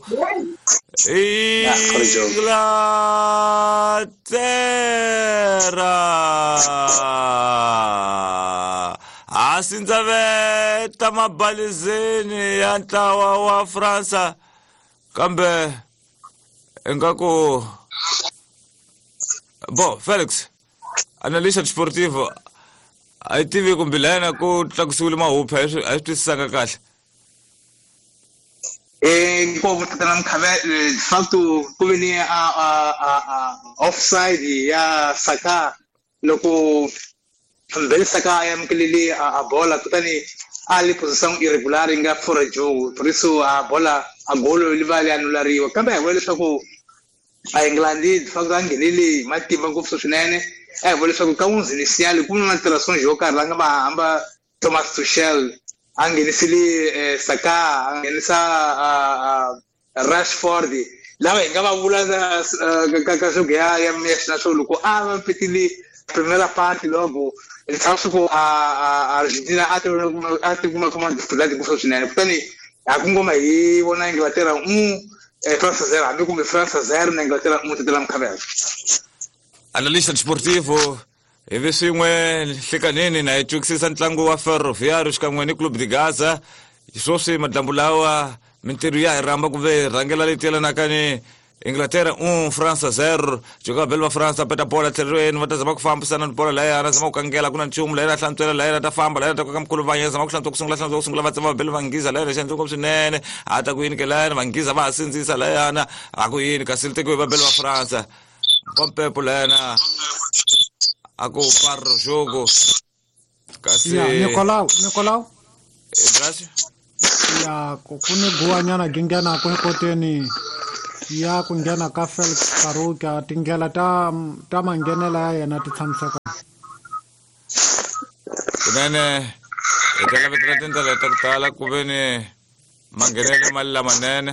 Inglaterra a sindzaveta mabalizeni ya ntlawa wa Fransa kambe ingaku bo Felix analista desportivo a yi tivi kumbe layena ku tlakusiwile mahuphi a swi twisisanga kahle. Inkomu tatana Mkhavele, de facto ku ve ni a offside ya Saka loko Mbele Saka a amukelele a bola kutani a li position irregular yi nga fora jogo, por isso a bola a golo li va li anulariwa. Kambe a hi vula leswaku a England de facto a nghenele hi matimba ngopfu swinene. A hi vula leswaku ka 11 initial ku na alterações yo karhi la nga va hamba Thomas Tuchel a nghenisile Saka, a nghenisa Rashford lava hi nga va vula ka swo ya ya swo loko a va petile primera parte logo leswaku a Argentina a ti kuma kuma dificuldade ngopfu swinene. Kutani a ku ngoma hi vona Inglaterra France 0 hambi kumbe France 0 na Inglaterra 1 tatela Mkhavela. Analista desportivo ivi swin'we nhlikanini na hi twisisa ntlangu wa Ferroviário xikan'we ni Clube de Gaza. Sweswi madyambu lawa mintirho ya hi rhamba kumbe rhangela leyi yelanaka ni Inglaterra 1 France 0. Joka belo va France peta bola tlhelweni va ta zama ku fambisana ni bola layana zama ku kangela ku na nchumu layana hlantswela layana ta famba layana ta koka mkhulu vanya zama ku hlantswa ku sungula hlantswa ku sungula va tsema belo va nghiza layana xi endla swinene a ta ku yini ke layana va nghiza va ha sindzisa layana a ku yini kasi li tekiwe va belo va France Pompepo layana a ku parro jogo kasi ya Nicolau Grazie ya ku ni guwanyana ginghena ku ekoteni ya ku nghena ka Felix Karuka tindlela ta manghenela ya yena ti tshamiseka kunene hi ta lavetela tindlela ta ku tala ku ve ni manghenele mali lamanene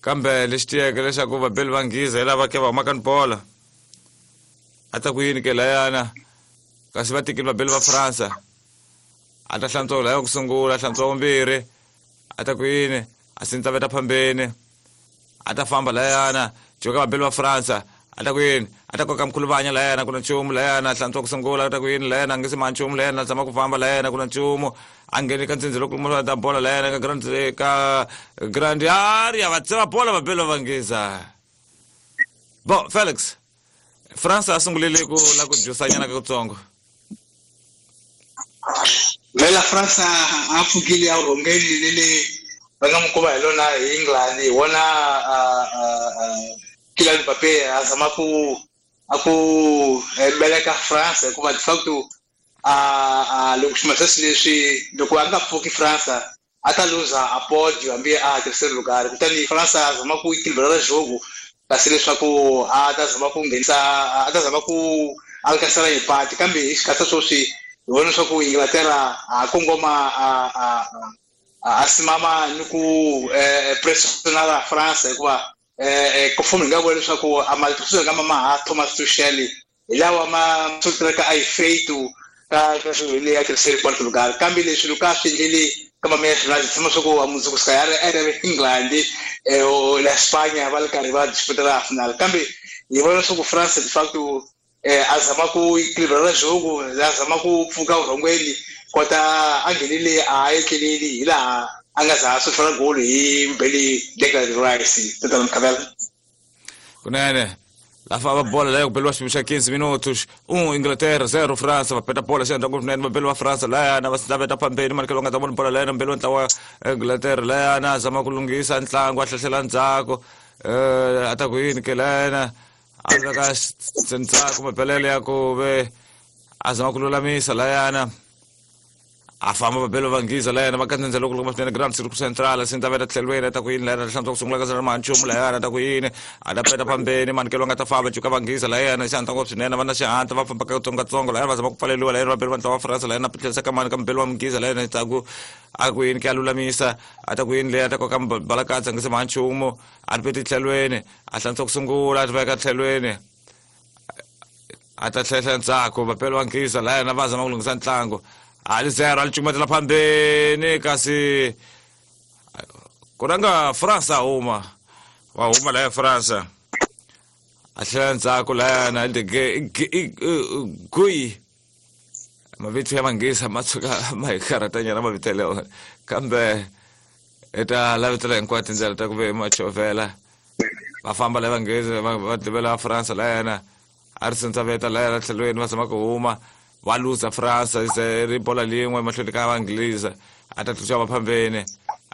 kambe lexi tiyeke leswaku vabeli va nghiza hi lava ke va humaka ni bola a ta ku yini ke layana kasi va tekile vabeli va Fransa a ta hlantswa laya ku sungula hlantswa vumbirhi a ta ku yini a sindzaveta phambeni a ta famba layana joka vabeli va Fransa a ta ku yini a ta koka mkhuluvanya layana ku na nchumu layana hlantswa ku sungula a ta ku yini layana a nge se ma nchumu layana zama ku famba layana ku na nchumu a ngheni ka ntsindzi loko ta bola layana ka grand ka grand area va tsema bola vabeli va nghiza. Bo Felix France a sungulile ku la ku jusanyana ka kutsongo. Vela France a pfukile a rhongeni lele va nga n'wi komba hi lona hi England hi wona Kylian Mbappé a zama ku a ku beleka France hikuva de facto a loko xima sweswi leswi loko a nga pfuki France a ta luza a podio hambi a terceiro lugar. Kutani France a zama ku equilibrar jogo kasi leswaku a ta zama ku nghenisa a ta zama ku alcançar empate kambe hi xikarhi sweswi hi vona leswaku Inglaterra a kongoma a simama ni ku pressionar France hikuva conforme hi nga vula leswaku a matirhiselo nga ma Thomas Tuchel hi lawa ma sukelaka a efeito ka ka leyi ya terceiro quarto lugar. Kambe leswi loko a swi endlele ka mameya finale tshama swa ku a mundzuku ska ya ri England la Spanya va ri karhi va disputela final. Kambe hi vona leswaku France de facto a zama ku equilibrar jogo a zama ku pfuka vurhongweni kota a nghenile a etleleli hi laha a nga za swi fana golo hi Mbele Declan Rice tatana Mkhavela. Kunene la famba bola leyo ku beliwa xipimo xa 15 minutos 1 Inglaterra 0 France va peta bola xi endla kunene va beliwa France layana va sindzaveta phambeni manikelo nga ta vona bola layana mbeli wa ntlawa Inglaterra layana zama ku lunghisa ntlangu a hlahlela ndzhaku a ta ku yini ke layana a veka ndzhaku mabelele ya ku ve a zama ku lulamisa layana a famba vabelo va nghiza layana va kandzendza loko loko maswinene grand circle central sindzaveta tlhelweni a ta ku yini layana hlantswa ku sungula ka zera manchumu layana ta ku yini a ta peta phambeni manikelo nga ta famba cuka va nghiza layana xihatla ngopfu swinene va na xihatla va famba katsongokatsongo layana va zama ku pfaleliwa layana vabeli va ntlawa wa France layana tlherisa ka mani ka mubeli wa mughiza layana ta ku a ku yini ke a lulamisa a ta ku yini leyi a ta koka balakatsa ngise manchumu a ti peti tlhelweni a hlantswa ku sungula a ti veka tlhelweni a ta tlhehla ndzhaku vabeli va nghiza layana va zama ku lunghisa ntlangu a li zero a li cukumetela phambeni kasi Ku rhanga Fransa huma. Va huma laya Fransa. A tlhela ndzhaku layana Guy. Mavito ya Manghezi ma tshuka ma hi karhatanyana mavito ya leyo. Kambe hi ta lavetela hinkwato tindlela ta ku ve ma chovhela. Va famba la Vanghezi va tivela Fransa layana. A ri sindzaveta laya tlhelweni va zama ku huma. Va luza Fransa se ri bola lin'we mahlweni ka Vanghezi. A ta tluxa vaphambeni.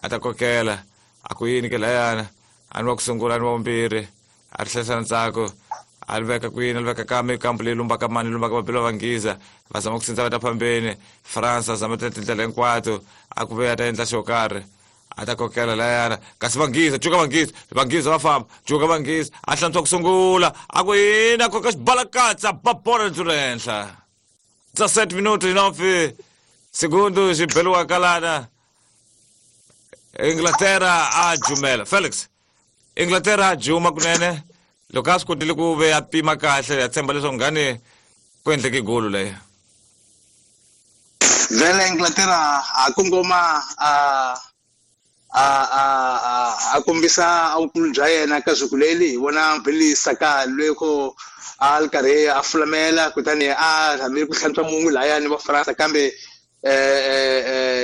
A ta kokela. A ku yini ke layana. A ni wa ku sungula a ni wa vumbirhi. A ri hlayisa ntsako. A ri veka kwini, a ri veka ka mikambu leyi lumbaka mani, lumbaka mabilo va Nghiza. Va zama ku sindza va ta phambeni. Fransa zama tindlela hinkwato. A ku ve a ta endla xo karhi. A ta kokela layana. Kasi Vanghezi, cuka Vanghezi, Vanghezi va famba, cuka Vanghezi. A hlantswa ku sungula. A ku yini, a koka xibalakatsa, ba bola ri henhla. 17 minutos 9 segundos xi beliwaka lana. Inglaterra a jumela. Felix, Inglaterra a juma kunene. Loko a swi kotile ku ve a pima kahle, ya tshemba leswaku ngani ku endleke golo leyo. Vele Inglaterra a kongoma a kombisa vukulu bya yena ka siku leri hi vona Billy Saka loko a ri karhi a fulamela kutani a rhamile ku hlantswa mungu layani va Fransa kambe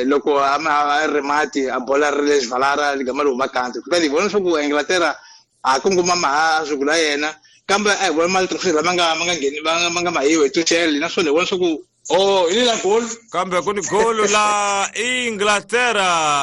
loko a ri mati a bola ri le xivalara ligama ri huma kanti kutani hi vona leswaku Inglaterra a kongoma maha siku la yena kambe a hi vona mali lama nga ngheni ma nga mahiwe hi Tuchel naswona hi vona leswaku oh hi la goal kambe ku ni golo la Inglaterra.